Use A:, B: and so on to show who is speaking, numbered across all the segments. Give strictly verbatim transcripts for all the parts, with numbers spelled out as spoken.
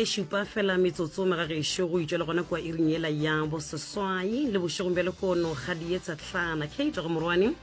A: Ye šupa fela metsotso magagešo go itšwela gona kua iring yela ya boseswai le bošegong bja lekono. Kgadi ye tsehlana Kate go Morwane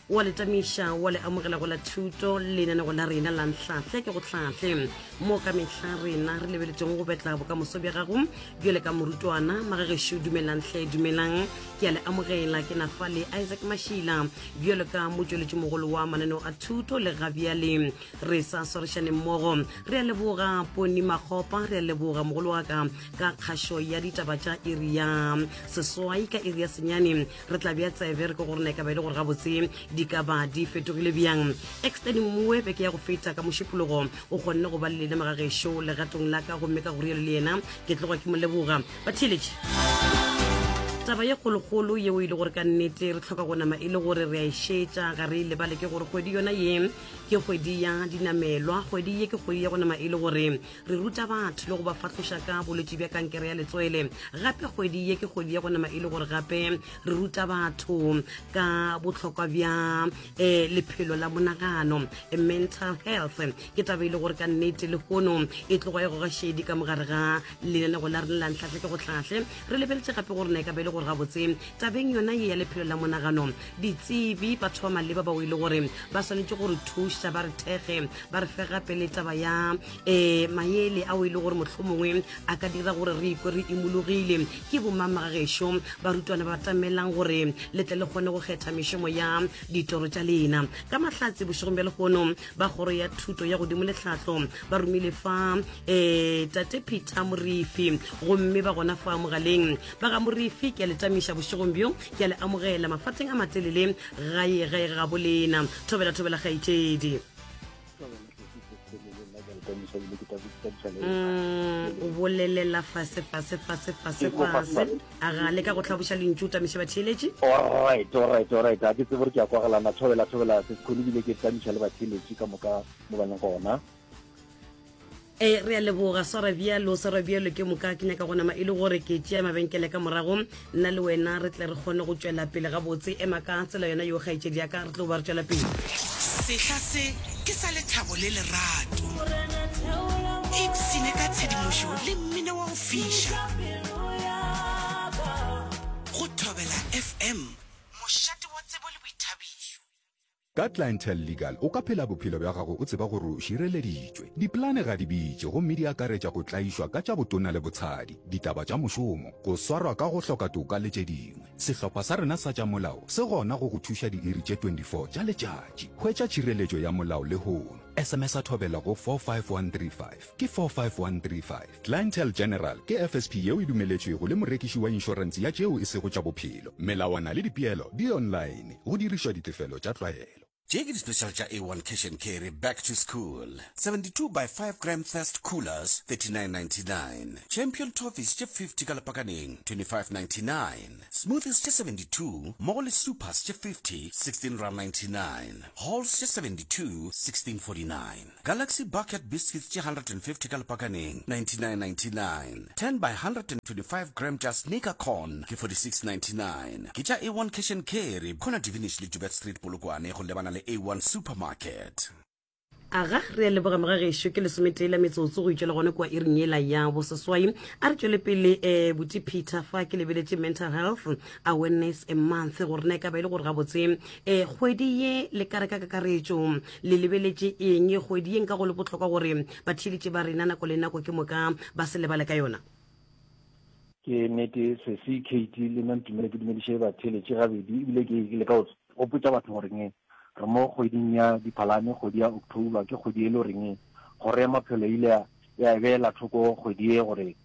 A: wa le tamiša wa le amogela go la thuto lenanego la rena la Nhlahle ke go hlahle, mo ka mehla rena re lebeletšeng go betla bokamoso bja gago bjale ka morutwana. Magagešo, dumelang hle, dumelang, ke a le amogela. Ke nafa le Isaac Mašila bjalo ka motšweletši mogolo wa mananeo a thuto, le gabjale re sa swarišane mmogo. Re a leboga Poni Makgopa, re a leboga mogolo wa ka ka kgašo ya ditaba tša iri ya seswai. Ka iri ya senyane re tla bja tsebe re ke gore na e ka ba e le gore gabotse di ka ba di fetogile bjang. Extend mmoe beke ya go feta ka mošupologo o kgonne go ba le lena magagešo legatong la ka, gomme ka go rialo le yena ke tloga ke mo leboga. Batheeletše, taba ye kgolokgolo yeo e le gore ka nnete re tlhoka go nama e le gore re a e šetša, ga re e lebale, ke gore kgwedi yona ye ke kgwedi ya dinamelwa. Kgwedi ye ke kgwedi ya go nama e le gore re ruta batho le go ba fahloša ka bolwetši bja kankere ya letswele. Gape kgwedi ye ke kgwedi ya go nama e le gore gape re ruta batho ka bohlokwa bja um lephelo la monagano, mental health. Ke taba e le gore ka nnete lehono e tloga e goga šedi ka mogare ga lenanego la rena la Ntlhahle ke go hlahle. Re lebeletše gape gore na e ka ba e le gore gabotse tabeng yona ye ya lephelo la monagano, ditsebi, batho ba maleba bao e le gore ba swanetše gore thuša, ba re thekge, ba re fe gape le taba ya um maele ao e le gore mohlomongwe a ka dira gore re ikwe re imologile, ke bomamagagešo? Barutwana ba tamelang gore le tle le kgone go kgetha mešomo ya ditoro tša lena. Ka mahlatse bošegong bja lehono ba kgoro ya thuto ya godimo le tlhahlo ba romile fa um tate Peter Morifi, gomme ba gona fa mogaleng. Ba ga Morifi, ke a le tamiša bošegong bjo, ke a le amogela mafateng a matelele gae gae ga bolena. Thobela, thobela kgaetšedi. Mm, o bolelela fase fase fase fase fase, a ga le ka go hlaboša lentšu, o tamiše batheeletši.
B: Alright, alright, alright, a ke tsebe gore ke a kwagalana. Thobela, thobela se sekholo, ebile ke tamiša le batheeletši ka moka mo ba leng gona.
A: E re a leboga, swara bjalo, swara bjalo. Ke moka ke nyaka go nama e le gore ke tšea mabenkele ka morago, nna le wena re tle re kgone go tšwela pele gabotse. Ema ka tsela yona yo, kgaetšedi ya ka, re tlo ba re tšwela pele.
C: Sehla se ke sa lethabo le lerato. Ipsene ka tshedimošo le mmino wa go fiša go Thobela F M, mošate wa tsebo le boithabišo.
D: Ka Clientele Legal o ka phela bophelo bja gago o tseba gore o šireleditšwe. Dipolane ga di bitše gomme di akaretša go tlaišwa ka tša botona le botshadi, ditaba tša mošomo, go swarwa ka go hloka toka le tše dingwe. Sehlopha sa rena sa tša molao se gona go go thuša diiri tše twenty-four tša letšatši. Hwetša tšhireletšo ya molao lehono. S M S a thobela go four five one three five, ke four five one three five. Clientele General ke F S P yeo e dumeletšwego le morekiši wa inšorense ya tšeo e sego tša bophelo. Melawana le dipeelo di online, go dirišwa ditefelo tša tlwaelo.
C: Tše ke di-special tša A one Cash and Carry back to school: seventy-two by five gram Thirst coolers, thirty-nine ninety-nine; Champion toffees tše fifty ka lepakaneng, twenty-five ninety-nine; smoothies tše seventy-two mmogo le supers tše fifty, sixteen rand ninety-nine; halls tše seventy-two, sixteen forty-nine; Galaxy bucket biscuits tše one hundred and fifty ka lepakaneng, ninety-nine ninety-nine; ten by one hundred twenty-five gram tša Sneaker corn ke forty-six ninety-nine. Ke tša A one Cash and Carry, corner Divinish le Joubert Street, Polokwane, go lebana le A one Supermarket.
A: Aga, re a leboga mogagešo. Ke lesometee la metsotso go itšwela gone kua iring yela ya boseswai. A re tšwele pele. um buti Peter, fa ke lebeletše Mental Health Awareness a Month, gore na e ka ba e le gore gabotse um kgwedi ye le ka re ka kakaretšo le lebeletše eng kgwedi ye nka go le bohlokwa gore batheeletše ba rena nako le nako ke moka ba se lebale ka yona?
B: Ke nnete, sesi Kate, le nna ntumele ke dumediše batheeletše gabedi, ebile ke le ka gopotša batho goreng re mo kgweding ya Diphalane. Kgwedi ya October ke kgwedi e le goreng kgoro ya maphelo ile ya ya e beela thoko kgwedi e gore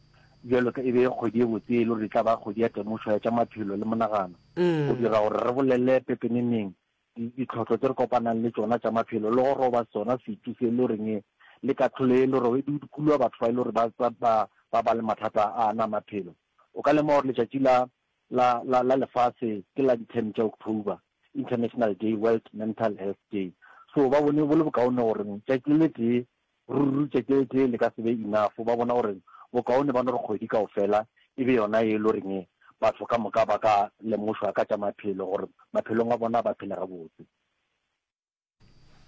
B: bjalo ka e be kgwedi e botse, e le gore e tla ba kgwedi ya temošo ya tša maphelo le monagano, go dira gore re bolele pepeneneng ditlhohlo tse re kopanang le tšona tša maphelo, le go roba sona setu se e le goreng le katlholo e le gore di kulwa batho ba e le gore ba ba ba ba le mathata a ana maphelo. O ka lemoga gore letšatši la la la la lefase ke la di-ten tša October, International Day, World Mental Health Day. So ba bone bo le bokaone gore tšatši le le tee, ruri tšatši le tee le ka se be enough. Ba bona gore bokaone ba no re kgwedi kaofela e be yona e le goreng batho ka moka ba ka lemošwa ka tša maphelo, gore maphelong a bona ba phele gabotse.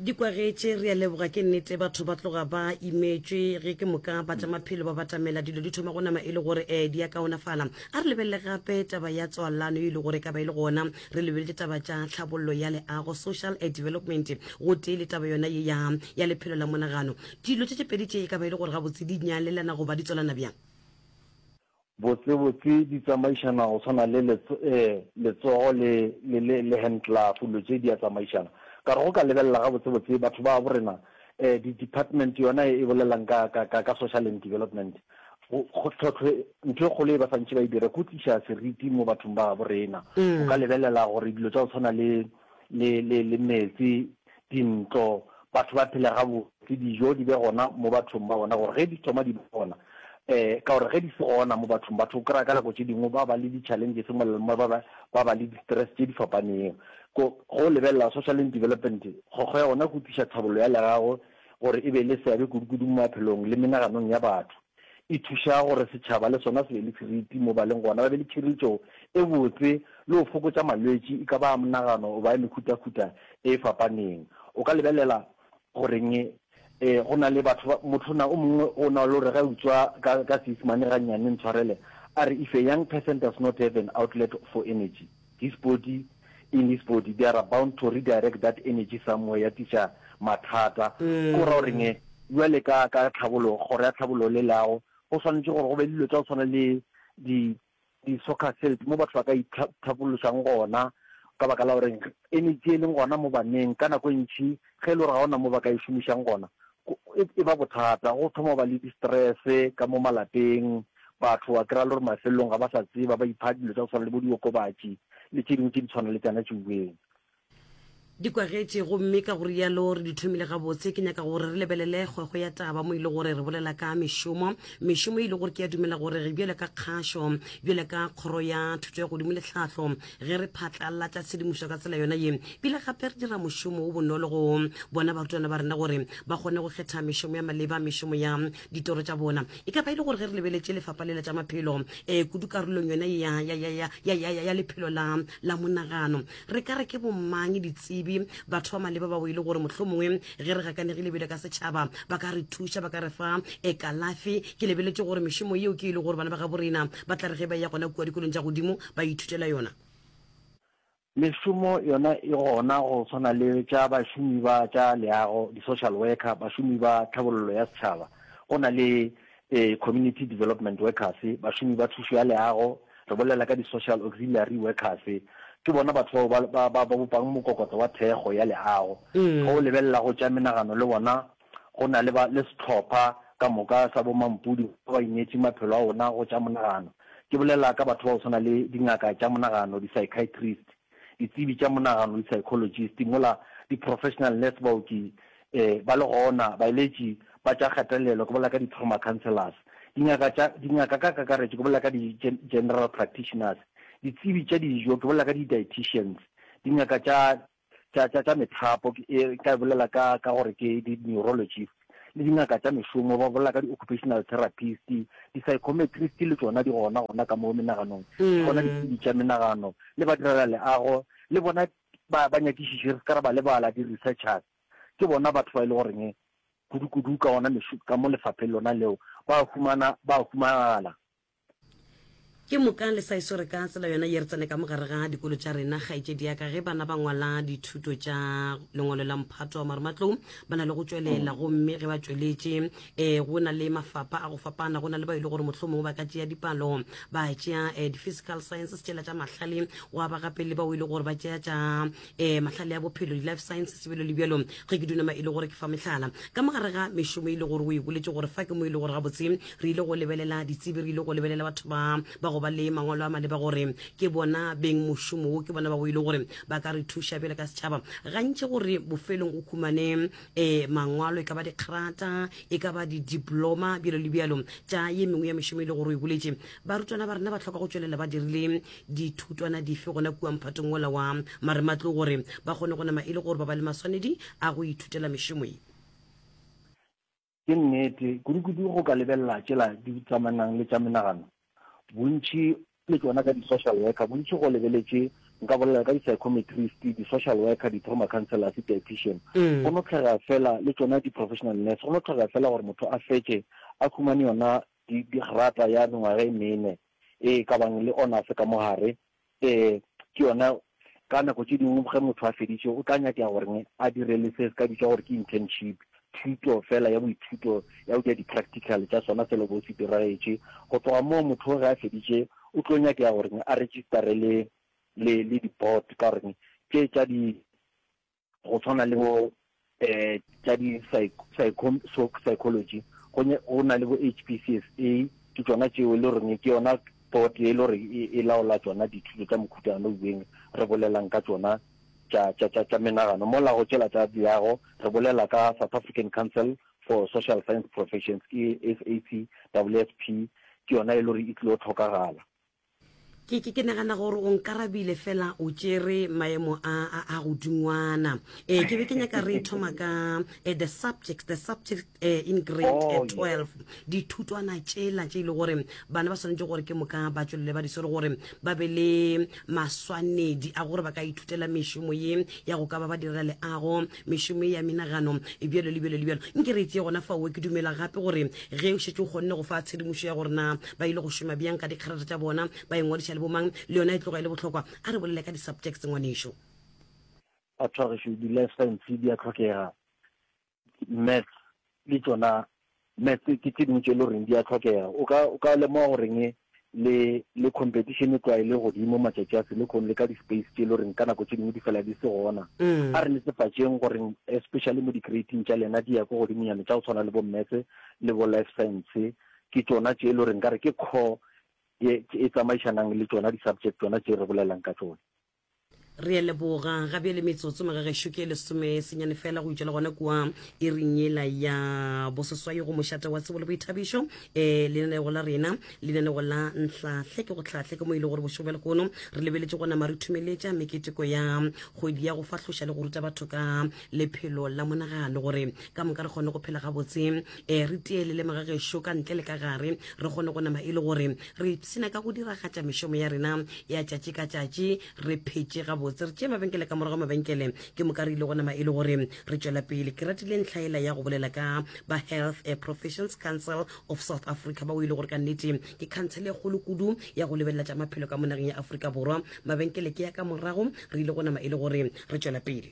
A: Di kwagetše, re a leboga. Ke nnete, batho ba tloga ba imetšwe ge ke moka ba tša maphelo ba batamela, dilo di thoma go nama e le gore um di a kaonafala. A re lebelele gape taba ya tswalano e le gore e ka ba e le gona, re lebeletše taba tša tlhabollo ya leago, social development, gotee le taba yona ye ya, ya lephelo la monagano. Dilo tše tše pedi tše e ka ba e le gore gabotse di nyalelana goba di tswalana bjang?
B: Botsebotse di tsamaišana go swana le letsogo le, le, le, le hand glove, dilo tše di a tsamaišana. Ka re go ka lebelela gabotsebotse batho ba borena, eh, di-department yona e bolelang ka, ka, ka, ka social and development, go, go, tlhohlo, ntho e kgolo e ba santše ba e dira ke go tliša seriti mo bathong ba borena. O ka lebelela gore dilo tša go tshwana le, le, le, le meetse, dintlo, batho ba phele gabotse, dijo di be gona mo bathong ba bona, gore ge di thoma di ba gona, um ka gore ge di se gona mo bathong, batho o kry-a ka nako tše dingwe ba ba le di-challenges mola le mo, ba ba, ba ba le di-stress tše di fapaneng. Ko, go lebelela social and development, kgokgo ya gona ke go tliša tlhabollo ya legago gore e be le seabe kudu-kudu mo maphelong le menaganong ya batho. E thuša gore setšhaba le sona se be le seriti mo ba leng gona, ba be le tšhireletšo e botse le go fokotša malwetši e ka ba a monagano goba a mehutahuta e fapaneng. O ka lebelela goreng eh, go na le batho ba, motho na o mongwe o na le gore ge a utswa ka, ka Seisemane gannyane, ntshwarele, a re if a young person does not have an outlet for energy, his body, in his body, they are bound to redirect that energy somewhere, ya tliša mathata. Ke go ra goreng bjale ka, ka tlhabologo, kgoro ya tlhabologo le leago, go swanetše gore go be le dilo tša go tshwana le di, di-soccer field mo batho ba ka ithabološang gona, ka baka la gore energy e leng gona mo baneng ka nako e ntši ge e le gore ga ona mo ba ka e šomišang gona, e, e ba bothata. Go thoma go ba le di-stress ka mo malapeng, batho wa kry-a le gore mafelelong ga ba sa tseba, ba ipha dilo tša go tshwana le bo diokobatši le tše dingwe tše di tshwana le tšana tšeueng.
A: Di kwagetše, gomme ka go rialo re di thomile gabotse. Ke nyaka gore re lebelele kgwekgwe ya taba mo e le gore re bolela ka mešomo, mešomo e le gore ke a dumela gore re bjale ka kgašo, bjale ka kgoro ya thuto ya godimo le tlhahlo, ge re phatlalatša tshedimošo ka tsela yona ye, bile gape re dira mošomo o bonolo go bona barutwana ba rena gore ba kgone go kgetha mešomo ya maleba, mešomo ya ditoro tša bona. E ka ba e le gore ge re lebeletše lefapha lela tša maphelo, um kudu karolong yona ya, ya, ya, ya, ya, ya, ya, ya lephelo la, la monagano, re ka re ke bomang ditsebi, batho ba maleba bao e le gore mohlomongwe ge re gakanegile bjale ka setšhaba ba ka re thuša, ba ka re fa e kalafi? Ke lebeletše gore mešomo yeo ke e le gore bana ba gabo rena ba tla re ge ba ya gona kua dikolong tša godimo ba ithutela yona.
B: Mešomo yona e gona go tshwana le tša bašomi ba tša leago, di-social worker, bašomi ba tlhabollo ya setšhaba, go na le eh, community development workers, bašomi ba thušo ya leago, re bolela ka di-social auxiliary workers, ke bona batho bao ba, ba, ba bopang mokokotlo wa thekgo ya leago. Ge o lebelela go tša menagano le bona, go na le ba, le sehlopha ka moka sa bomampudi ba ba ineetše maphelo a ona go tša monagano. Ke bolela ka batho ba go tshwana le dingaka tša monagano, di-psychiatrist, ditsebi tša monagano, di-psychologist, mola di-professional nurse, baoki eh, ba le gona, baeletši ba tša kgatelelo, ke bolela ka di-trauma counselors, dingaka tša, dingaka ka kakaretšo, ke bolela ka di-general practitioners, ditsebi tša dijo, ke bolela ka di-dietitians, dingaka tša, tša, tša, tša methapo, ke ka bolela ka, ka gore ke di-neurologist, le dingaka tša mešomo, ba bolela ka di-occupational therapist, di-psychometrist le tšona di gona gona ka mo menaganong, ke gona ditsebi tša menagano, le ba direla leago, le bona ba, ba nyakišiši, re se ka ra ba lebala, di-researchers, ke bona batho ba e le goreng kudu-kudu ka ona mešo, ka mo lefapheng lona leo ba humana, ba humagala.
A: Ke moka le sa e swere ka tsela yona ye re tsene ka mogare ga dikolo tša rena, kgaetšedi ya ka. Ge bana ba ngwala dithuto tša lengwalo la mphato wa marematlou, ba na le go tšwelela, gomme ge ba tšweletše um go na le mafapha a go fapana. Go na le ba e le gore mohlomongwe ba ka tšea dipalo, ba tšea um di-physical sciences tšela tša mahlale, gwa ba gape le bao e le gore ba tšea tša um mahlale a bophelo, di-life sciences, bjalo le bjalo, ge ke dunama e le gore ke fa mehlala. Ka mogare ga mešomo e le gore o e boletše gore fa ke mo e le gore gabotse re ile go lebelela ditsebi, re ile go lebelela batho ba ba go ba le mangwalo a maleba gore ke bona beng mošomo wo, ke bona ba bo e le gore ba ka re thuša bjale ka setšhaba. Gantši gore bofelong o khumane um mangwalo, e ka ba dikgrata, e ka ba di-diploma, bjalo le bjalo, tša ye mengwe ya mešomo e le gore o e boletše, barutwana ba rena ba hloka go tšwelela ba dirile dithutwana dife gona kua mphatong wola wa marematlou gore ba kgone go nama e le gore ba ba le maswanedi a go ithutela mešomo ye?
B: Ke nnete, kudu-kudu go ka lebelela tšela di tsamanang le tša menagano, bontši le tšona ka di-social worker, bontši go lebeletše Nka bolela ka di-psychometrist, di-social worker, di-trauma counselors, dietitian. Go no tlhokega fela le tšona di-professional nurse, go no tlhokega fela gore motho a fetše a humane yona digrata ya mengwaga e mene e ka bang le honors ka mo gare. Um ke yona ka nako tše dingwe ge motho a feditše o tla nyakega gore a dire le se se ka bitšwa gore ke internship, thuto fela ya boithuto ya go dira di-practical tša sona selo bo se diragetše. Go tloga moo motho ge a feditše o tlo nyakega gore a registere le le le di-board, ka gore tše tša di go tshwana le bo um tša di psychology go go na le bo H P C S A, ke tšona tšeo e le goreng ke yona board e le gore e laola tšona dithuto tša mokhutano bueng re bolelang ka tšona tša tša tša tša menagano. Mola go tšela tša leago re bolela ka South African Council for Social Science Professions, ke S A C W S P, ke yona e le gore e tlilo tlhokagala.
A: Ke, ke, ke nagana gore o nkarabile fela o tšere maemo a, a, a godingwana. Eh, ke be ke nyaka re thoma ka eh, the subjects, the subjects eh, in grade eh,
B: Oh,
A: twelve. Dithutwana tšela tše e le gore bana ba swanetše gore ke moka ba tšwelele ba di swere gore ba be le maswanedi a gore ba ka ithutela mešomo ye ya go ka ba ba direla leago, mešomo ye ya menagano, bjalo le bjalo le bjalo. Nke re tšee gona fao, ke dumela gape gore ge o šetše o kgonne go fa tshedimošo ya gore na ba ile go šoma bjang ka dikgerata tša bona, ba ingwadiša le bomang, le yona e tloga e le bohlokwa. A re bolele ka di-subjects ngwanešo.
B: Batho ba gešo, di-life science di a tlhokega, maths le tšona, maths ke tše dingwe tše e le goreng di a tlhokega. O ka, o ka lemoga goreng le, le competition e tloga e le godimo matšatši a selekhong, le ka di-space tše e le goreng ka nako tše dingwe di fela di se gona.
A: Mm.
B: A re netefatšeng goreng especially mo di-grading tša lena di ya ko godimonyana, tša go tshwana le bo maths le bo life science, ke tšona tše e le goreng ka re ke core ye e tsamaišanang le tšona di-subject tšona tše re bolelang ka tšona.
A: Re a leboga. Ga bjale metsotso magagešo ke lesome senyane fela go itšwa le gona kua iring yela ya boseswai go mošate wa tsebo le boithabišo. Eh, lenanego la rena, lenanego la Nhlahle ke go hlahle, ke mo e le gore bošego bja lehono re lebeletše go nama re thumeletša meketeko ya kgwedi ya go fahloša le go ruta batho ka lephelo la monagano, gore ka moka re kgone go phela gabotse, eh, re tielele magagešo ka ntle le ka gare, re kgone go nama e le gore re ipshina ka go diragatša mešomo ya rena ya tšatši ka tšatši, re phetše gabotse. Re tšee mabenkele ka morago mabenkele, ke moka re ile go nama e le gore re tšwela pele. Ke ratile ntlha ela ya go bolela ka ba Health Professions Council of South Africa, ba o ile gore ka nnete ke council e kgolo kudu ya go lebelela tša maphelo ka mo nageng ya Afrika Borwa. Mabenkele ke ya ka morago, re ile go nama e le gore re tšwela pele.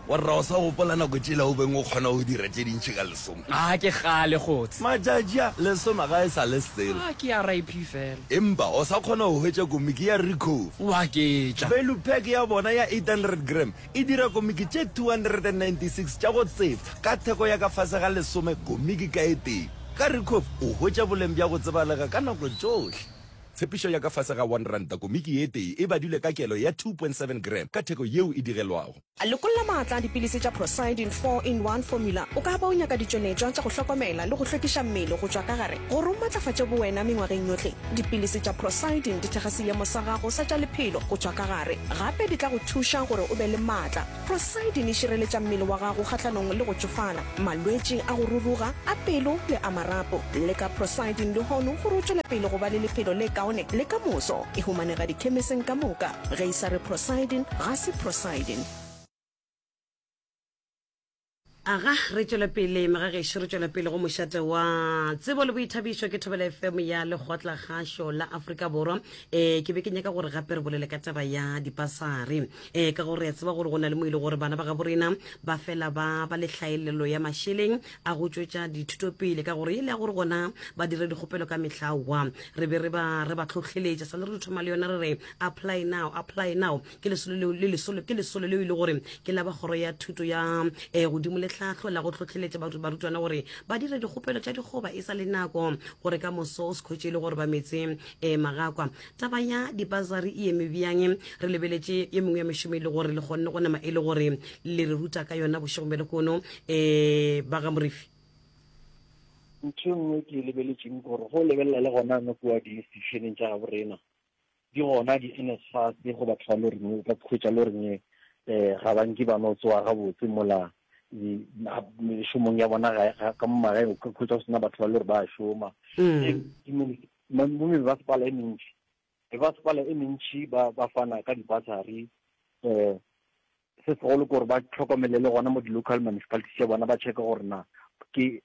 C: Wa rra o sa gopola nako tšela o beng o kgona go dira tše dintši ka lesome?
E: A ke kgale kgotse.
C: Matšatši a, lesome ga e sa le selo.
E: A ke R I P fela.
C: Empa o sa kgona go hwetša komiki ya Ricoh.
E: O a ketša.
C: Value pack ya bona ya eight hundred gram e dira komiki tše two hundred and ninety six tša go tsefa ka theko ya ka fase ga lesome komiki ka e tee. Ka Ricoh o hwetša boleng bja go tsebalega ka nako tšohle. Tshepišo ya ka fase ga one ranta komiki ye tee e badilwe ka kelo ya two point seven gram ka theko yeo e digelwago.
F: Lokolla maatla a dipilisi tša Procidin four in one formula. O ka ba o nyaka ditšweletšwa tša go hlokomela le go hlwekiša mmele go tšwa ka gare gore o matlafatše bowena mengwageng yohle. Dipilisi tša Procidin di thekga seemo sa gago sa tša lephelo go tšwa ka gare, gape di tla go thuša gore o be le maatla. Procidin e šireletša mmele wa gago kgahlanong le go tšofala, malwetši a go ruruga, a pelo le a marapo. Leka Procidin lehono gore o tšwele pele go ba le lephelo le kaone le ka moso. E humanega dikhemiseng ka moka. Ge e sa re Procidin, ga se Procidin.
A: Aga, re tšwela pele magagešo, re tšwela pele go mošate wa tsebo le boithabišo ke Thobela F M ya Lekgotlakgašo la Afrika Borwa. Eh, ke be ke nyaka gore gape re bolele ka taba ya dipasari. Eh, ka gore re a tseba gore go na le mo e le gore bana ba gabo rena ba fela ba ba le hlaelelo ya mašeleng a go tšwetša dithuto pele, ka gore e le ya gore gona ba dire dikgopelo ka mehla wa. Re be re ba, re ba tlhohleletša, sa le re thoma le yona re re apply now, apply now. Ke lesolo leo, le lesolo, ke lesolo leo e le gore ke la ba kgoro ya thuto ya, eh, godimo le tlhahlo la go tlhohleletša baru-, barutwana gore ba dire dikgopelo tša dikgoba e sa le nako, gore ka moso o se khwetše e le gore ba metse, eh, magakwa. Taba ya dipasari e eme bjang? Re lebeletše ye mengwe ya mešomo e le gore le kgonne go nama e le gore le re ruta ka yona bošegong bja lehono, eh, ba ga Morifi.
B: Ntho e nngwe ke e lebeletšeng ke gore go lebelela le gona no kua di-institutioneng tša gabo rena, di gona di-N S F A S go batho ba le goreng o ka khwetša le goreng, eh, ga ba nke ba no tsoga gabotse mola di-, ma-, mešomong ya bona ga, ga, ka mo magaeng, o ka khwetša go sena batho ba le gore ba šoma.
A: Mm.
B: E, di-muni-, ma-, mo mebasepala e mentši, Mebasepala e mentši ba ba fana ka di-bursary um se segolo ke gore ba hlokomele le gona mo di-local municipalities tša bona ba checke gore na ke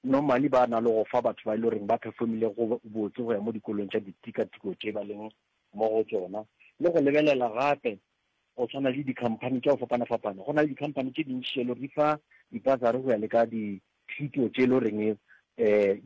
B: normally ba na le go fa batho ba e le goreng ba performile go botse go ya mo dikolong tša ditikatiko tše ba leng mo go tšona le go lebelela gape go tshwana le di-company tša go fapana-fapana go na le di-company tše dintši tše le gore di fa di-bursary go ya le ka dithuto tše e le goreng um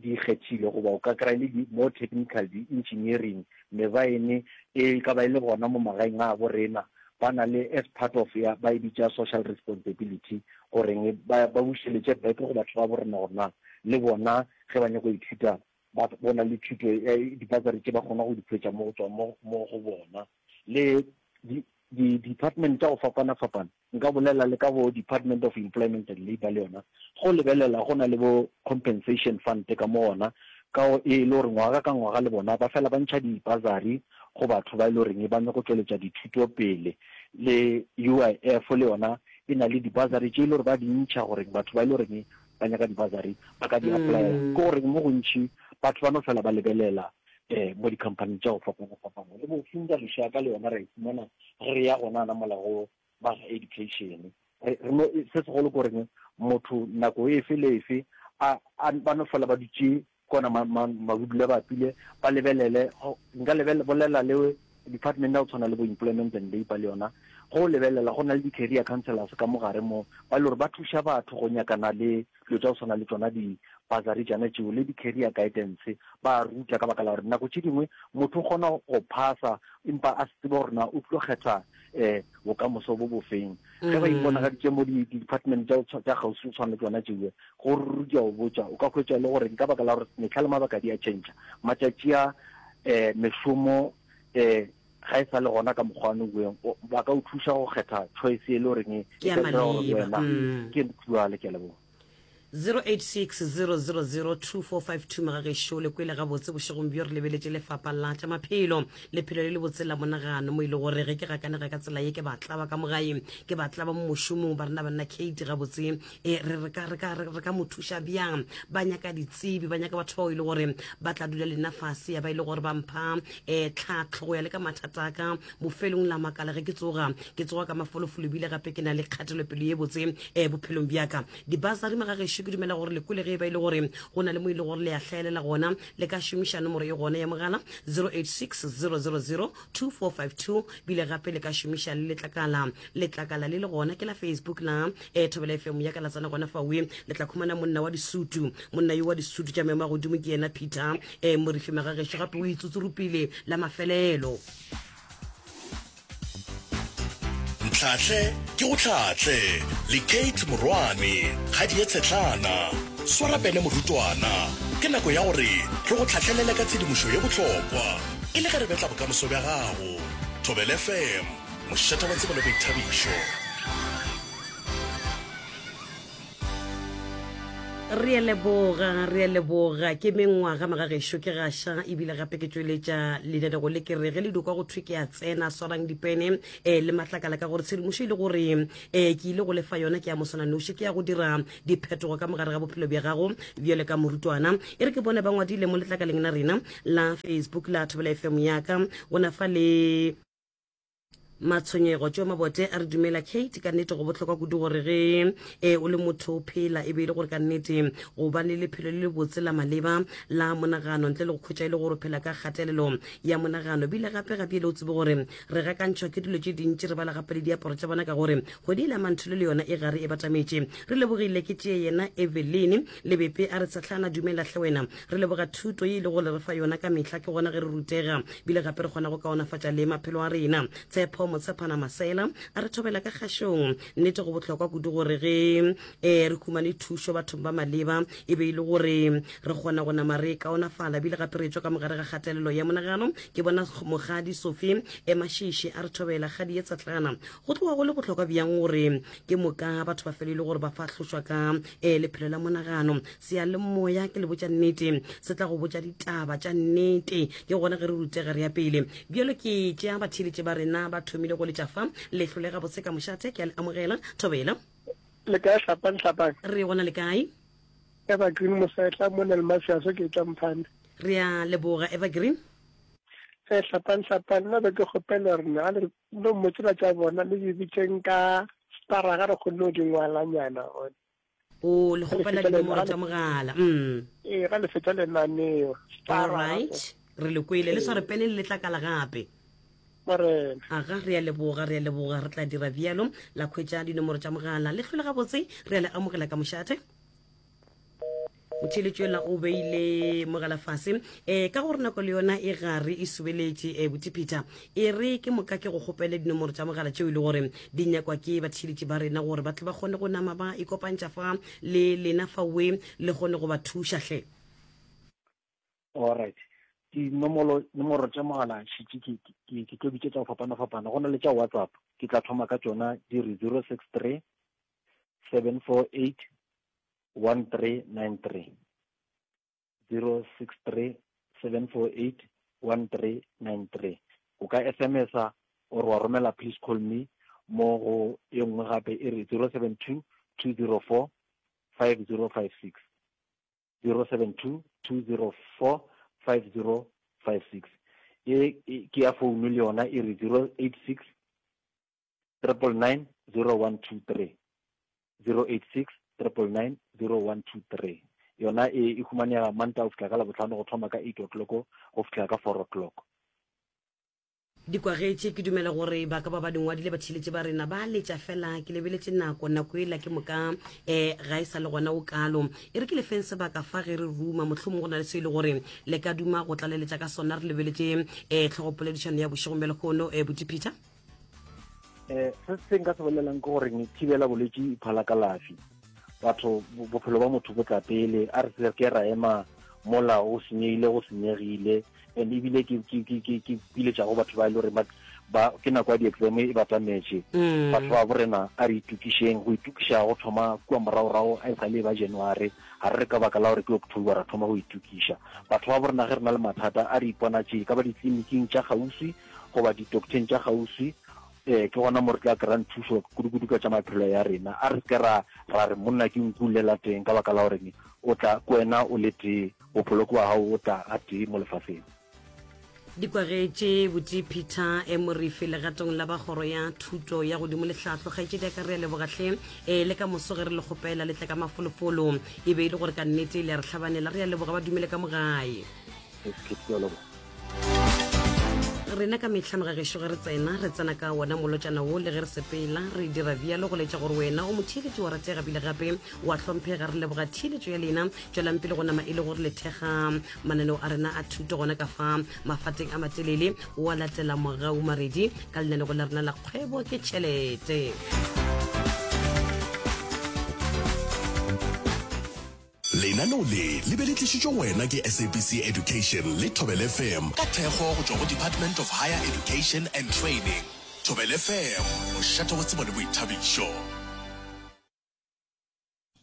B: di ikgethile goba o ka kry-a le di more technical di-engineering mebaene e ka ba e le gona mo magaeng a bo rena ba na le as part of ya ba e bitša social responsibility goreng ba ba bušeletše back go batho ba bo rena gore na le bona ge ba nyaka go ithuta ba bona le thuto di-bursary tše ba kgona go di hwetša mo go tswa mo mo go bona le di di-department tša go fapana-fapana nka bolela le ka bo department of employment and labour le yona go lebelela go na le bo compensation fund ka mo gona ka e le gore ngwaga ka ngwaga le bona ba fela ba ntšha di-bursary go batho ba e le goreng ba nyako tšweletša dithuto pele le U I F le yona e na le di-bursary tše e le gore ba di ntšha gore batho ba e le goreng ba nyaka di-bursary ba ka di applyela ke gore mo gontši batho ba no fela ba lebelela um mo di-company tša go fapana-fapana le bo Funza Lushaka le yona re e fumana ge re ya gona na mola go ba education re no se segolo ke goreng motho nako efe le efe a ba no fela ba dutše kona mabudula ba apile ba lebelele nka bolela le department ya go tshwana le bo employment and labour le yona go lebelela go na le di-career counselors ka mogare mo ba le gore ba thuša batho go nyakana le dilo tša go tshwana le tsona di-bursary tšana tšeo le di-career guidance ba ruta ka baka la gore nako tše dingwe motho o kgona go phasa empa a se tsebe gore na o tlo kgetha um bokamoso bo bofeng ge ba iponagaditše mo di-department tša kgauswi go tshwana le tsona tšeo go ruri ke a o botša o ka hwetša le gore ka baka la gore metlha le mabaka di a change matšatši a um mešomo um ga e sa le gona ka mokgwa wa ba ka o thuša go kgetha choice e le goreng e
A: ka dira gore wena
B: ke nthuale ke a leboga.
A: zero eight six zero zero zero two four five two magagešo le kwele gabotse bošegong bjo re lebeletše lefapha la tša maphelo lephelo le le botse la monagano mo e le gore ge ke gakanega ka tsela ye ke batlaba ka mogae ke batlaba mo mošomong ba rena banna Kate gabotse e re re ka re ka re ka mo thuša bjang ba nyaka ditsebi ba nyaka batho bao e le gore ba tla dula le nna fase ya ba e le gore ba mpha um tlhatlho go ya le ka mathata a ka bofelong la makala ge ke tsoga ke tsoga ka mafolofolo ebile gape ke na le kgatelopele ye botse um bophelong bjaka di-bursary magagešo ke dumela gore lekole ge e ba e le gore go na le mo e le gore le a hlaelela gona le ka šomiša nomoro e gona ya mogala zero eight six zero zero zero two four five two bile gape le ka šomiša le letlakala letlakala le le gona ke la Facebook la um Thobela F M ya ka la tsena gona fawe le tla khumana monna wa disutu monna yo wa disutu tša maemo a godimo ke yena Peter um Morifi magagešo gape o itsutsurupile la mafelelo.
C: Ntlhahle ke go tlhahle le Kate Morwane ga di ye tshetlana swara pene morutwana ke nako ya gore re go tlhahlelele ka tshedimošo ye bohlokwa e le ge re betla bokamoso bja gago. Thobela F M mošate wa tsebo le boithabišo.
A: Re a leboga re a leboga ke mengwaga magagešo ke gaša ebile gape ke tšweletša lenanego le ke re ge le dikwa go thwe ke a tsena swarang dipene um le matlakala ka gore tshedimošo e le gore um ke ile go lefa yona ke ya moswananoši ke ya go dira diphetogo ka mogare ga bophelo bja gago bjale ka morutwana e re ke bone ba ngwadile mo letlakaleng la rena la Facebook la Thobela F M yaka gona fa le matshwenyego tšeo mabote a re dumela Kate ka nnete go bohlokwa kudu gore ge e o le motho o phela e be e le gore ka nnete go ba le lephelo le lebotse la maleba la monagano ntle le go khwetša e le gore o phela ka kgatelelo ya monagano bile gape gape le o tsebe gore re gakantšhwa ke dilo tše dintši re bala gape le diaparo tša bona ka gore kgwedi e la mantholo le yona e gare e batametše re lebogile ke tšee yena Eveline Lebepe a re tshetlana dumela hle wena re leboga thuto ye e le gore re fa yona ka mehla ke gona ge re rutega bile gape re kgona go kaonafatša le maphelo a rena Tshepo Motshepana Masela a re thobela ka kgašong nnete go bohlokwa kudu gore ge um re humane thušo bathong ba maleba e be e le gore re kgona go nama re kaonafala bile gape re tswa ka mogare ga kgatelelo ya monagano ke bona mogadi Sophie Emašiši a re thobela kgadi ye tsatlana go tloga go le bohlokwa bjang gore ke moka batho ba fele e le gore ba fahlošwa ka um lephelo la monagano seyalemoya ke le botša nnete se tla go botša ditaba tša nnete ke gona ge re rutega re ya pele bjalo ke tšea batheeletše ba rena ba thomile go letša fa lehlo le gabotse ka mošate ke a le amogela thobela.
G: Le kae hlapang hlapang?
A: Re gona le kae?
G: Evergreen Mosetla mo Nelmafiaso ke tšwa Mphane.
A: Re a leboga Evergreen.
G: Eh hlapang hlapang nna be ke kgopela gore na le no mmotsela tša bona le di bitseng ka stara ga re kgone go di ngwalanyana gone.
A: O le
G: Ga le
A: kgopela
G: fetša
A: dinomoro
G: lena
A: tša mogala. Mm.
G: ee ga le fetša lenaneo
A: All
G: stara
A: right. Re le kwele le sware pene le letlakala gape.
G: Morena.
A: Aga re a leboga, re a leboga, re tla dira bjalo la khwetša dinomoro tša mogala. Le hlole gabotse, re a le amogela ka mošate. Motheeletši yola o beile mogala fase um ka gore nako le yona e gare e subeletše um Buti Peter. E re ke moka ke go kgopele dinomoro tša mogala tšeo e le gore di nyakwa ke batheeletši ba rena gore ba tle ba kgone go nama ba ikopantšha fa le lena fa we le kgone go ba thuša hle.
B: All right. Dinomoro nomoro tša mogala šetše ke ke ke tlo bitša tša go fapana-fapana. Go na le tša WhatsApp, ke tla thoma ka tšona di re zero six three seven four eight one three nine three. zero six three seven four eight one three nine three. O ka S M S-a or wa romela please call me mo go e nngwe gape e re zero seven two two zero four five zero five six. zero seven two two zero four five zero five six. E e ke ya founu le yona e re zero eight six triple nine zero one two three. zero eight six triple nine zero one two three. Yona e e humanega Mantaga go fihla ka Labohlano go thoma ka eight o'clock go fihla ka four o'clock.
A: Di kwagetše, ke dumela gore ba ka ba ba di ngwadile batheeletši ba rena ba letša fela. Ke lebeletše nako, nako ela ke moka um ga e sa le gona o kalo. E re ke lefeng sebaka fa ge re ruma, mohlomong go na le se e le gore le ka duma go tlaleletša ka sona. Re lebeletše um tlhogopoledišano ya bošegong bja lehono um Buti Peter.
B: Eh se se nka se bolelang ke gore thibela bolwetši e phala kalafi. Batho bophelo ba motho bo tla pele, a re se ke ra ema mola o senyegile go senyegile. And ebile ke ke ke ke ke piletša go batho ba e le gore ba ke nako ya di-exam e batametše. Batho ba borena a re itokišeng, go itokiša go thoma kua moragorago a e sa le ba January, ga re re ka baka la gore ke October ra thoma go itokiša. Batho ba borena ge re na le mathata a re iponatše ka ba ditleliniking tša kgauswi goba di-docteng tša kgauswi, eh ke gona mo re tla kry-ang thušo kudu-kudu ka tša maphelo ya rena. A re se ke ra ra re monna ke nku lela teng ka baka la gore o tla ke wena o le tee, bophelo ke wa gago o tla a tee mo lefaseng.
A: Di kwagetše Buti Peter e Morifi legatong la ba kgoro ya thuto ya godimo le tlhahlo. Kgaetšedi ya ka re a lebogahle e le ka moso ge re le kgopela le tle ka mafolofolo, e be e le gore ka nnete le a re hlabanela. Re a leboga, ba dumele ka mo gae. Rena ka mehla mogagešo ge re tsena, re tsena ka wona molotšana wo, le ge re sepela re dira bjalo go letša gore wena o motheeletši wa ratega bile gape wa hlomphega. Re leboga theeletšo ya lena, tšwelang pele go nama e le gore le thekga mananeo a rena a thuto gona ka fa mafateng a matelele. Wa latela Mogau Maredi ka lenanego la rena la kgwebo ke tšhelete.
H: Lenaneo le le be le tlišitšwe go wena ke S A B C Education le Thobela F M ka thekgo go tšwa go Department of Higher Education and Training. Thobela F M, mošate wa tsebo le boithabišo.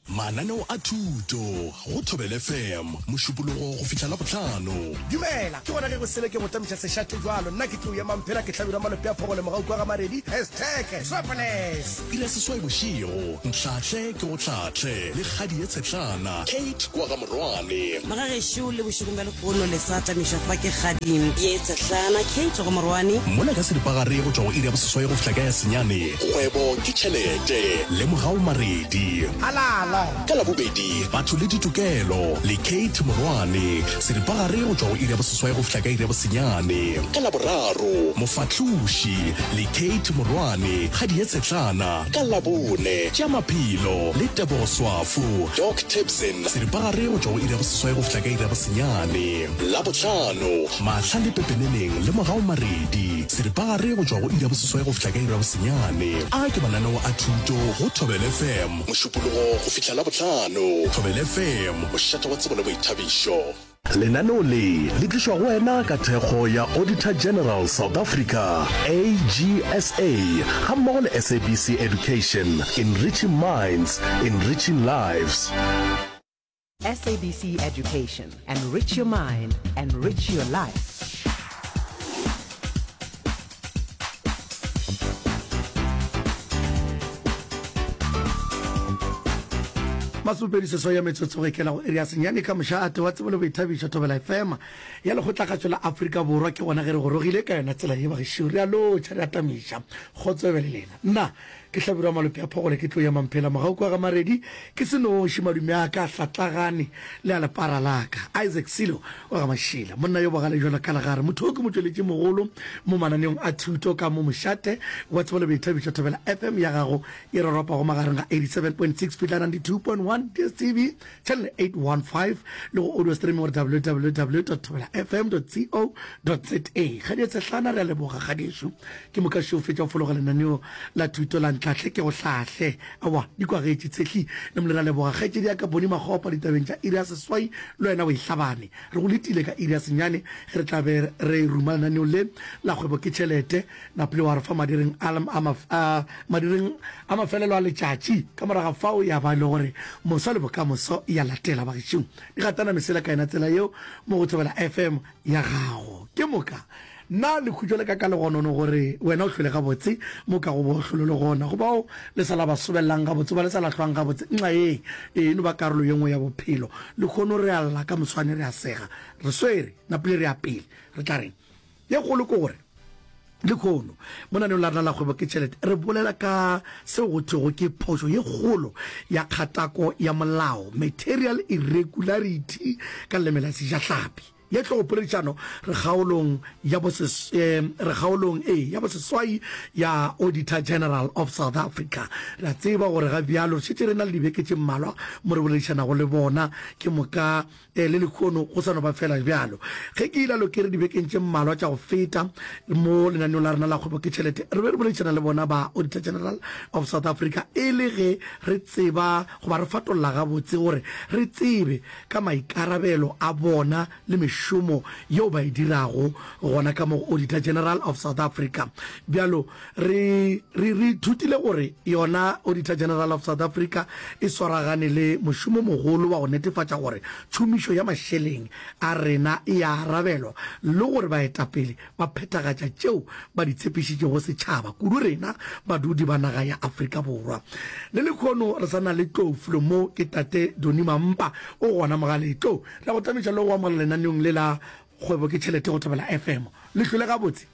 H: Mananeo a thuto go Thobela F M Mošupologo go fihla Labohlano.
I: Dumela, ke gona ge go sele ke go tamiša sešate jwalo. Nna ke tlo ema mphela ke hlabirwa malope a phogole mogau kwa ga Maredi. Hashtag Triple S.
H: Iri ya seswai bošego, Ntlhahle ke go hlahle le kgadi ye tshetlana Kate kwa ga Morwane.
A: Magagešo le bošegong bja lehono le sa tamišwa fa ke kgadi ye tshetlana Kate go Morwane.
H: Mola ka seripagare go tšwa go iri ya boseswai go fihla ka ya senyane, kgwebo ke tšhelete le Mogau Maredi.
I: Halala.
H: Ka Labobedi, batho le ditokelo le Kate Morwane, seripagare go tšwa go iri ya boseswai go fihla ka iri ya bosenyane. Ka Laboraro, Mofahloši le Kate Morwane, kgadi ye tshetlana. Ka Labone, tša maphelo le Tebogo Swafo, Doc Tibson, seripagare go tšwa go iri ya boseswai go fihla ka iri ya bosenyane. Labohlano, Mahla le Pepeneneng le Mogau Maredi, seripagare go tšwa go iri ya boseswai go fihla ka iri ya bosenyane. A ke mananeo a thuto go Thobela F M Mošupologo go fihla Labohlano. Thobela F M, mošate wa tsebo le boithabišo. Lenaneo le le tlišwa go wena ka thekgo ya Auditor General South Africa, A G S A, gammogo le S A B C Education, enriching minds, enriching lives.
J: S A B C Education, enrich your mind, enrich your life.
I: Masomepedi seswai ya metsotso go ikela go iri ya senyane ka mošate wa tsebo le boithabišo Thobela F M ya Lekgotlakgatšo la Afrika Borwa. Ke gona ge re gorogile ka yona tsela ye bagešo. Re a lotšha, re a tamiša. Kgotso e be le lena. Nna ke Hlabirwa Malope a Phogole ke tlo ya Mamphela mogau kwa ga Maredi ke se noši madume a ka a hlatlagane le a lepara la ka. Isaac Silo wa ga Mašila monna yo bogale bjalo ka legare motho o ke motšweletši mogolo mo mananeong a thuto ka mo mošate wa tsebo le boithabišo Thobela F M ya gago e roropago magareng ga eighty-seven point six fihla ninety-two point one D S T V channel eight one five le go audio streaming gore W W W dot thobela F M dot co dot za. Kgadi Tshehlana re a leboga kgadiešo ke moka šeo fetša go fologa lenaneo la thuto la Ntlhahle ke go hlahle aowa di kwagetše Tshehli le mole re a leboga kgaetšedi ya ka Boni Makgopa ditabeng tša iri ya seswai le wena o e hlabane re go letile ka iri ya senyane ge re tla be re ruma lenaneo le la kgwebo ke tšhelete Napile wa re fa madireng a, a, a, madireng a mafelelo a letšatši. Ka morago ga fao ya ba e le gore moso le bokamoso ya latela. Bagešo, di gatana mesela ka yona tsela yeo mo go Thobela F M ya gago. Ke moka na lekhutšo le ka ka legonono gore wena o hlwele gabotse mo ka go bo hlolo le gona. Go bao le sa la ba sobelelang gabotse, ba le sa la hlwang gabotse, nxa ye e no ba karolo ye nngwe ya bophelo. Lehono re a lla, ka moswane re a sega. Re swere, napile re ya pele. Re tla reng? Ye kgolo ke gore lehono mo naneong la rena la Kgwebo ke Tšhelete re bolela ka seo go thwego ke phošo ye kgolo ya kgatako ya molao, material irregularity ka leleme la Sejahlapi. Ye hlogopoledišano re kgaolong ya boses, eh, re kgaolong e ya boseswai ya Auditor General of South Africa. Re a tseba gore ga bjalo re šetše re na le dibeke tše mmalwa mo re boledišanago le bona, ke moka Ee, le lehono go sa no ba feela bjalo. Ge ke ilalo ke re dibekeng tše mmalwa tša go feta mo lenaneong la rena la Kgwebo ke Tšhelete re be re boledišana le bona ba Auditor General of South Africa e le ge re tseba goba re fatolla gabotse gore re tsebe ka maikarabelo a bona le mešomo yeo ba e dirago gona ka mo go Auditor General of South Africa. Bjalo re, re, re ithutile gore yona Auditor General of South Africa e swaragane le mošomo mogolo wa go netefatša gore tšhomišo ya mašeleng a rena e a arabelwa le gore baetapele ba phethagatša tšeo ba di tshepišitšego setšhaba, kudu rena badudi ba naga ya Afrika Borwa. Le lekhono re sa na le Tlou Flo mo ke Tate Donny Mampa o gona mogaleng. Tlou, re a go tamiša le go go amogela lenaneong le la Kgwebo ke Tšhelete go Thobela F M. Le hlwele gabotse?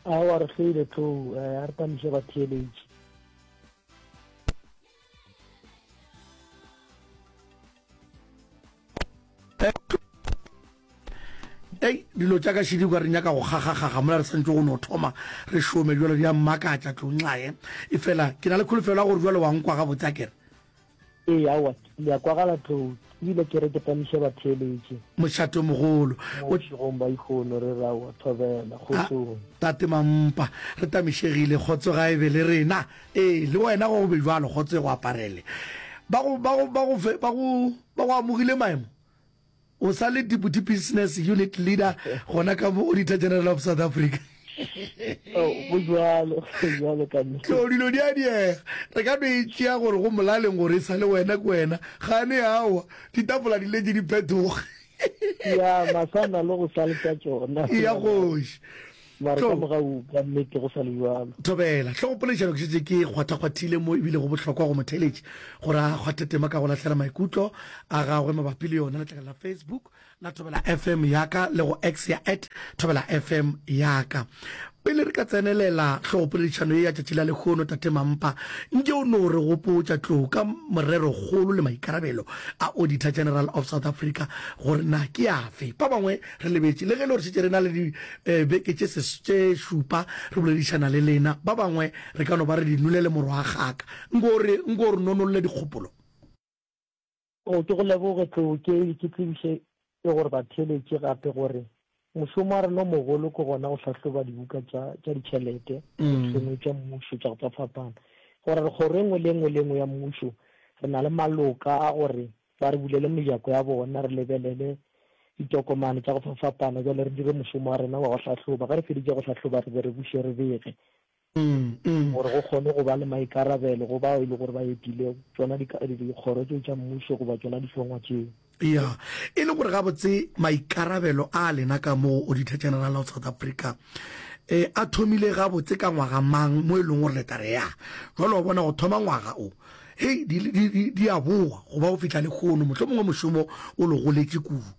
K: Aowa re hlwele Tlou, a re tamiše batheeletši.
I: Ei, dilo tša ka šedi kwa re nyaka go kgakgakgakga mola re santše go no thoma re šome jalo di a mmakatša tlonxae. Efela ke na le kholofelo ya gore jalo wa nkwa gabotse a kere.
K: Ee, aowa, le a kwagala tlou, ebile ke re ke tamiše batheeletši.
I: Mošate o mogolo.
K: Mo bošegong ba ikgono re re aowa, thobela, kgotsong.
I: Tate Mampa, re tamišegile, kgotso ga e be le rena. Ee, le wena go be bjalo, kgotso e go aparele. Ba go, ba go, ba go fe, ba go, ba go amogile maemo? O sa le Deputy Business Unit Leader gona ka mo Auditor General of South Africa.
K: Oh, go bjalo, go bjalo ka nnete.
I: Tlo, dilo di a diega. Re ka no e tšea gore go molaleng gore e sa le wena ke wena. Gane aowa, ditafola di letše di phetoga.
K: Ya, masana le go sa le tša tšona.
I: Ya kgoši.
K: Mara ka mogau ka nnete go sa le bjalo.
I: Thobela. Hlogopoledišano ke šetše ke kgwathakgwathile mo ebile go bohlokwa go motheeletši gore a kgwathe tema ka go lahlela maikutlo a gagwe mabapi le yona letlakala la Facebook la Thobela F M ya ka le go X ya at Thobela F M ya ka. Pele re ka tsenelela hlogopoledišano ye ya tšatši la lehono, Tate Mampa, nke o no re gopotša tlou ka morerokgolo le maikarabelo a Auditor General of South Africa gore na ke afe. Ba bangwe re lebetše, le ge e le gore šetše re na le dibeke tše tše šupa re boledišana le lena, ba bangwe re ka no ba re di nole le morwagaka. Nko o re, nko o re nonolle dikgopolo.
K: O, ke go leboge Tlou, ke, ke tsebiše le gore batheeletši gape gore mošomo wa rena o mogolo ke gona go hlahloba dibuka tša, tša ditšhelete, dihlongwe tša mmušo tša go fapafapana. Gore re kgoro e nngwe le e nngwe le e nngwe ya mmušo re na le maloka a gore ba re bulele mejako ya bona, re lebelele ditokomane tša go fapafapana, bjale re dire mošomo wa rena wa go hlahloba. Ge re feditše go hlahloba re be re buše re bege. Gore go kgone go ba le maikarabelo go bao e le gore ba etile tšona dikgoro tšeo tša mmušo goba tšona dihlongwa tšeo.
I: Ya, e le gore gabotse maikarabelo a lena ka mo go Auditor General of South Africa e a thomile gabotse ka ngwaga mang mo e leng gore le tla re ya jwale wa bona go thoma ngwaga o Hei, di, di, di, di a boa go ba go fihla lehono, mohlomongwe mošomo o le goletše kudu.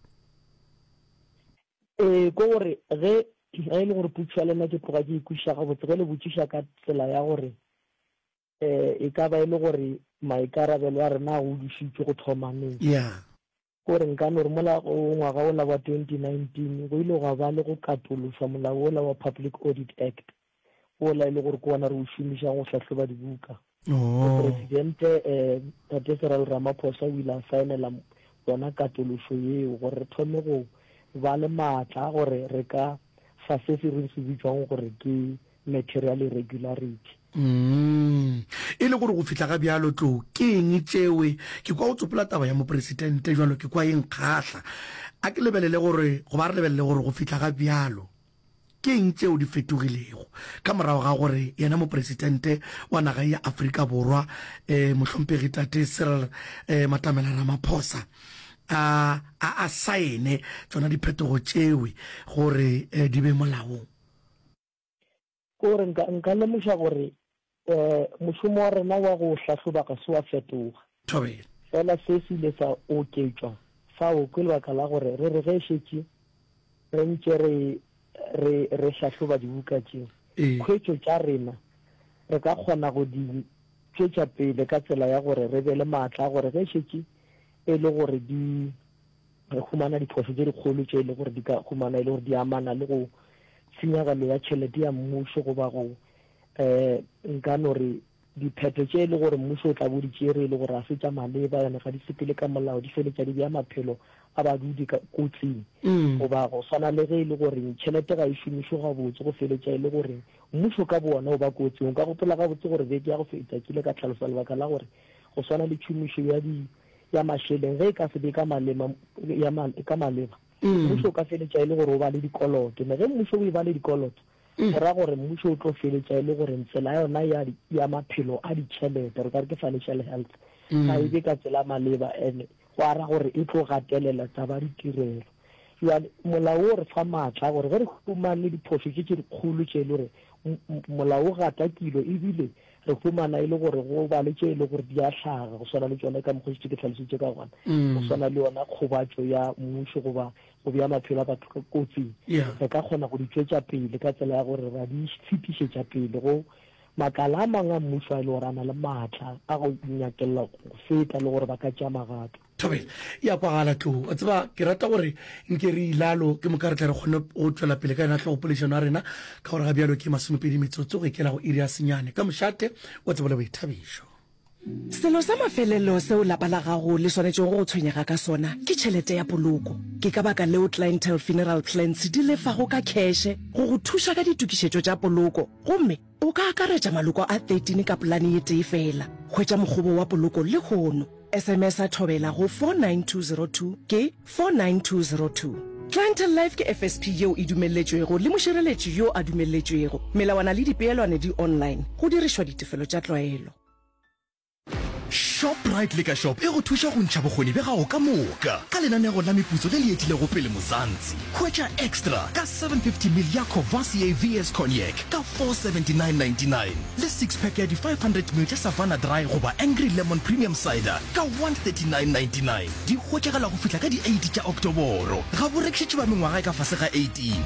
K: Ee, ke gore ge, ge e le gore potšišo ya lena ke tloga ke e kwešiša gabotse, ge le botšiša ka tsela ya gore um e ka ba e le gore maikarabelo a rena a godišitšwe go thoma neng.
I: Yeah.
K: Ke gore nka no re mola go ngwaga wola wa twenty nineteen go ile gwa ba le go katološwa molao wola wa Public Audit Act, wola e le gore ke wona re o šomišang go hlahloba dibuka. Mopresidente um Tate Cyril Ramaphosa o ile a saenela yona katološo yeo gore re thome go ba le maatla a gore re ka fa se se re se bitšwago gore ke material irregularity.
I: Mm. E le gore go fihla ga bjalo, Tlou, ke eng tšewe? Ke kwa o tsopola taba ya mopresidente bjalo, ke kwa e nkgahla. A ke lebelele gore, goba a re lebelele gore go fihla ga bjalo, ke eng tšeo di fetogilego ka morago ga gore yena mopresidente wa naga ya Afrika Borwa, eh, Mohlomphegi Tate Cyril eh, Matamela Ramaphosa, a, a, a saene tšona diphetogo tšewe gore eh, di be molaong?
K: Ke gore nka, nka lemoša gore um mošomo wa rena wa go hlahloba ga se wa fetoga.
I: Thobela.
K: Fela se se ile sa oketšwa fao ke lebaka la gore re re ge šetše re ntše re, re, re hlahloba dibuka tše,
I: Ee.
K: khwetšo tša rena re ka kgona go di tšwetša pele ka tsela ya gore re be le maatla a gore ge šetše e le gore di re humana diphošo tše dikgolo tše e le gore di ka humana e le gore di amana le go tshenyagelo ya tšhelete ya mmušo goba go um nka no re diphetho tše e le gore mmušo o tla bo di tšere e le gore ga se tša maleba ene ga di sepele ka molao di feletša di bea maphelo a badudi ka kotsing goba go swana le ge e le gore tšhelete ga e šomišwe gabotse go feletša e le gore mmušo ka bo wona o ba kotsing. O ka gopola gabotse gore beke ya go feta ke ile ka hlalosa lebaka la gore go swana le tšhomišo ya di ya mašeleng ge e ka se be ka malema ya ka maleba mmušo o ka feletša e le gore o ba le dikoloto ne ge mmušo o e ba le dikoloto go ra gore mmušo o tlo feletša e le gore tsela ya yona ya ya maphelo a ditšhelete re ka re ke financial health ga e be ka tsela maleba and go ara gore e tlo gatelela taba ditirelo. Jwale molao o re fa maatla a gore ge re humane diphošo tše tše dikgolo tše e le gore molao o gata kilo ebile re humana e le gore go ba le tše e le gore di a hlaga go swana le tšona ka mokgwa šetše ke hlalošitše ka gona go swana le yona kgobatšo ya mmušo goba go bea maphelo a batho ka kotsing re ka kgona go di tšwetša pele ka tsela ya gore ra di fetišetša pele go makala a mangwe a mmušo a e le gore a na le maatla a go nyakella go feta le gore ba ka tšea magato.
I: Thobela, E a kwagala Tlou. Wa tseba, ke rata gore nke re ilalo, ke moka re tle re kgone go tšwela pele ka yona hlogopoledišano ya rena, ka gore ga bjalo ke masomepedi metsotso go ikela go iri ya senyane. Ka mošate wa tsebo le boithabišo.
L: Selo sa mafelelo seo lapa la gago le swanetšego go tshwenyega ka sona ke tšhelete ya poloko. Ke ka baka leo Clientele Funeral Plans di lefago ka kheše go go thuša ka ditokišetšo tša poloko gomme o ka akaretša maloko a thirteen ka polane ye tee feela. Hwetša mokgobo wa poloko lehono. S M S a Thobela go four nine two zero two ke four nine two zero two. Clientele Life ke F S P yeo e dumelletšwego le mošireletši yo a dumelletšwego. Melawana le dipeelwane di online, go dirišwa ditefelo tša tlwaelo.
H: Shoprite Liquor Shop e go thuša go ntšha bokgoni bja gago ka moka ka lenanego la meputso le le etilego pele Mzansi. Hwetša Extra ka seven fifty ml ya Courvoisier V S Cognac ka four seventy nine ninety nine le six pack ya di five hundred ml tša Savanna Dry goba Angry Lemon Premium Cider ka one thirty nine ninety nine. Di hwetšagala go fihla ka di eight tša Oktoboro. Ga bo rekišetše ba mengwaga e ka fase ga eighteen.